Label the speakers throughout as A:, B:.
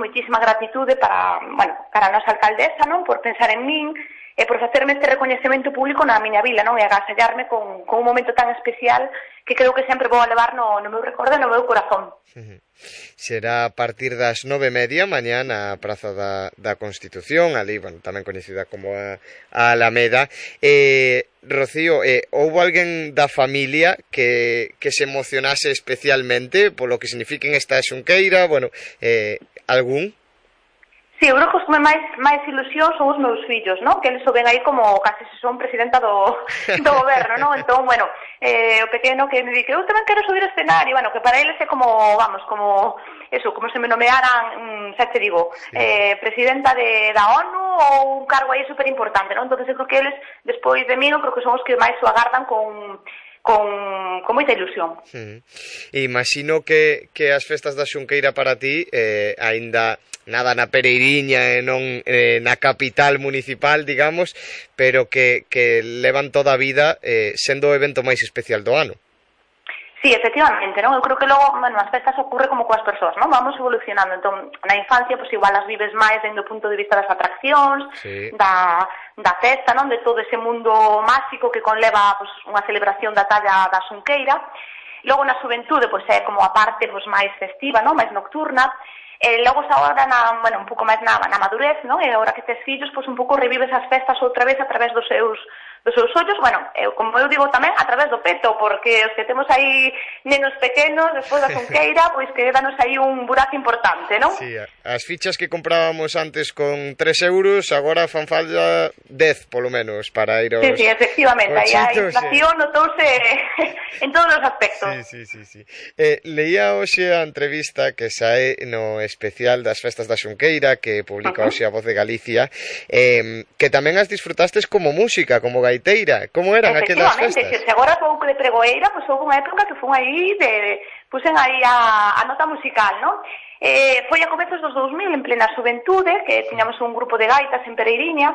A: moitísima gratitude para a nosa alcaldesa, non, por pensar en min, e por facerme este recoñecemento público na miña vila, non, e agasallarme con un momento tan especial que creo que sempre vou a levar no meu recordo e no meu corazón.
B: Será a partir das 9:30 mañá na Praza da Constitución, ali, tamén coñecida como a Alameda. Rocío, houbo alguén da familia que se emocionase especialmente polo que signifiquen esta xunqueira, algún?
A: Sí, eu creo que os que máis ilusión son os meus fillos, non? Que eles o ven aí como casi se son presidenta do goberno, non? Entón, o pequeno que me di que eu tamén quero subir ao escenario, que para eles é como se me nomearan, xa te digo, presidenta da ONU ou un cargo aí super importante, non? Entón, eu creo que eles, despois de mí, eu creo que son os que máis o agardan con moita ilusión.
B: Imagino que as festas da Xunqueira para ti, aínda nada na Pereiriña e non na capital municipal, digamos, pero que levan toda a vida sendo o evento máis especial do ano.
A: Sí, efectivamente, non? Eu creo que logo, as festas ocurre como coas persoas, non? Vamos evolucionando, entón, na infancia, igual as vives máis dende o punto de vista das atraccións, da festa, non? De todo ese mundo máxico que conleva, unha celebración da talla da xunqueira. Logo na xuventude, é como a parte, máis festiva, non? Máis nocturna. E logo xa agora, un pouco máis na madurez, non? E agora que tes fillos, un pouco revives as festas outra vez a través dos seus ollos, como eu digo tamén, a través do peto, porque os que temos aí nenos pequenos, despois da xunqueira, que danos aí un burazo importante, non?
B: Sí, as fichas que comprábamos antes con 3 euros, agora fan falta 10, polo menos, para ir aos...
A: Sí, efectivamente, aí a inflación notouse en todos os aspectos.
B: Sí. Leía hoxe a entrevista que sae no especial das festas da xunqueira, que publica hoxe a Voz de Galicia, que tamén as disfrutastes como música, como gaiteira. Como eran aquelas festas?
A: Efectivamente, se agora pouco de pregoeira, houve unha época que fun aí, puxen aí a nota musical, non? Foi a comezos dos 2000, en plena xuventude, que tiñamos un grupo de gaitas en Pereiriña,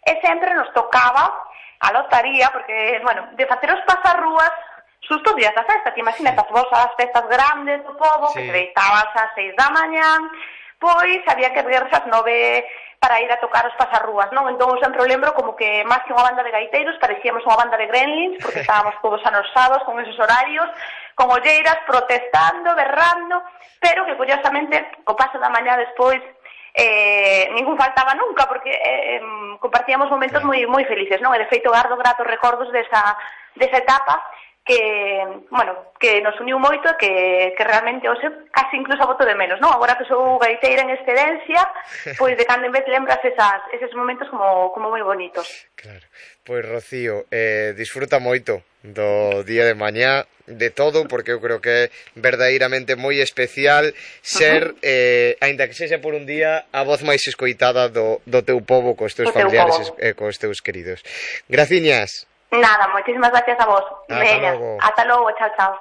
A: e sempre nos tocaba a lotaría, porque, de facer os pasarrúas sustos días da festa, que imagínate as festas grandes do pobo, que se deitabas ás 6 da mañán, había que erguerse ás 9 para ir a tocar os pasarrúas, non? Entón, eu sempre lembro como que, máis que unha banda de gaiteiros, parecíamos unha banda de gremlins, porque estábamos todos anosados con esos horarios, con olleiras, protestando, berrando, pero que, curiosamente, co paso da mañá despois, ningún faltaba nunca, porque compartíamos momentos moi felices, non? E, de feito, gardo gratos recordos desa etapa, que nos uniu moito e que realmente hoxe casi incluso boto de menos, non? Agora que sou gaiteira en excedencia, de cando en vez lembras eses momentos como moi bonitos.
B: Claro. Rocío, disfruta moito do día de mañá, de todo, porque eu creo que é verdadeiramente moi especial ser, aínda que sexa por un día, a voz máis escoitada do teu pobo, cos teus familiares e cos teus queridos. Graciñas.
A: Nada, moitísimas gracias a vos.
B: Hasta logo.
A: Hasta logo, chao.